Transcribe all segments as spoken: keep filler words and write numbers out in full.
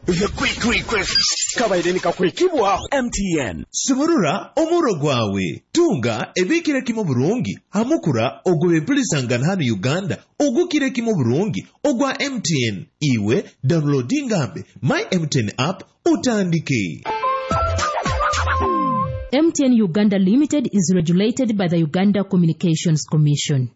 The Quick Request kabaire nikakwekibwaho M T N. Sumurura omuro gwawe, tunga ebikire kimu burungi hamukura ogw'ebempulisangana hano Uganda ogukire kimu burungi ogwa M T N. Iwe downloadingambe My M T N app utandike. M T N Uganda Limited is regulated by the Uganda Communications Commission.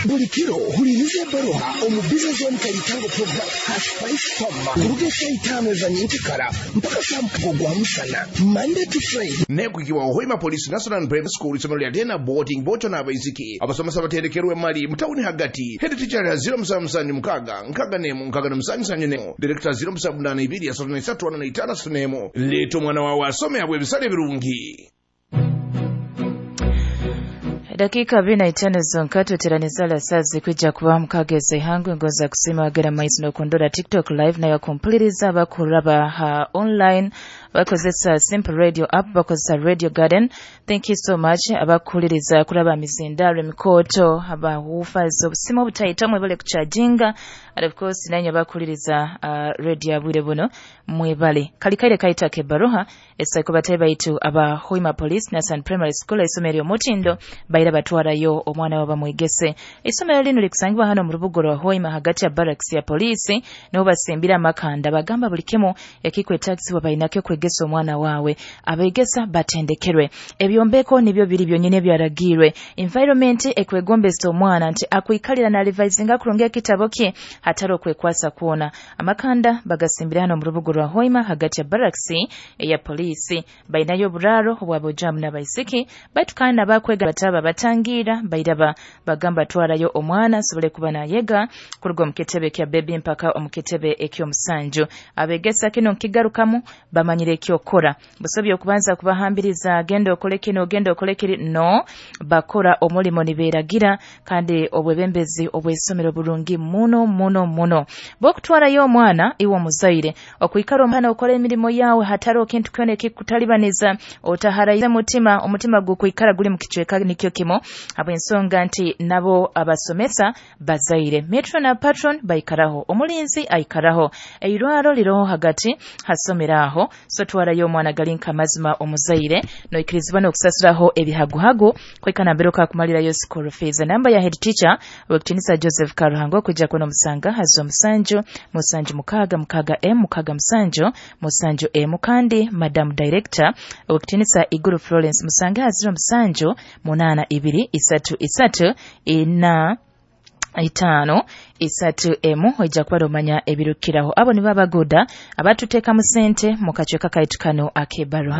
Buli kiro huliriza ebbaruha omu Business One Kalitango program hash five toma kuruga esaa itaano eza nyenkikara mpaka saa mukago gwa musana, Monday to Friday. Nekwikibwa Hoima Police National Primary School, isomero lya tena boarding bocho n'abaisiki abasomesa batendekerwe mali mutawuni hagati. Head teacher ya zero musanvu musanvu mukaga nkaga nemu nkaga na musanju sanju nemu, director zero musanvu munana ibiri asatu na isatu ana na itano asatu nemu. Leeta omwana wawe asome abwe ebisale ebirungi. Dakika abiri na itano zonka tweteraniza lasazi kwijja kuba mukageza ihangwe. Ngonza kusima wagera maizi nokundora TikTok live nayo kumpuliriza abakuraba ha online bakozesa Simple Radio app, bakozesa Radio Garden. Thank you so much abakuwuliriza kulaba mizindalo emikooto, abawoofers, obusimu obutaito mwebale kucharginga, and of course nanyu abakuwuliriza uh, radio abwire buno mwebale. Kalikaire kaita kebaruha esaiko batayi baitu aba Hoima Police Nasan Primary School, isomero ly'omutindo baira batwarayo omwana wabo bamwegese. Isomero lino likusangibwa hano mu rubuga rwa Hoima hagati ya barracks ya polisi niho basimbira amakanda. Bagamba buli kimu ekikwetagisibwa bainakyo kwegesa omwana wawe. Abegesa batendekerwe, ebyombeko nibyo biri byonyine ebyaragirwe, environment ekwegombesa omwana nti akwikalira na revisinga kurungi ekitabo kye hatari okwekwasa kwona. Amakanda bagasimbira hano mu rubuga rwa Hoima hagati ya barracks eya polisi. Bainayo oburaro obwabojamu n'abaisiki baitu kandi nabakwega bataba batangira bairaba bagamba twarayo omwana asobole kuba nayega kuruga omu kitebe kya baby mpaka omu kitebe eky'omusanju. Abegesa kino nkigarukamu bamanyire ekyokora busobya okubanza kubahambiriza genda okole kino, genda okole kiri. No bakora omulimo niberagira kandi obwebembezi obw'isomero burungi muno muno muno. Bokutwarayo omwana, iwe omuzaire okwikara omwana okora emirimo yawe hatari ekintu kyona ekikutalibaniza, otaharaize mutima, omutima gukwikara guli mu kicweka nikyo kimo habw'ensonga nti nabo abasomesa bazaire. Matron na patron baikaraho, omulinzi aikaraho, eirwaro liroho hagati hasomero aho. So twarayo omwana gali nkamazima omuzaire noikirizibwa n'okusasuraho ebihaguhagu kwikana mbere okakumalirayo school fees. Namba ya head teacher wekitinisa Joseph Karuhango okujja kuno musanga hazo musanju musanju mukaaga mukaaga m mukaaga musanju musanju m, kandi madam director wekitinisa Iguru Florence musange haziro musanju munana ibiri isatu isatu ina itaano isatu emu, ojja kuba omanya ebirukiraho. Abo nibo abaguda abatuteekamu sente mu kacweka kaitu kano ak'ebbaruha.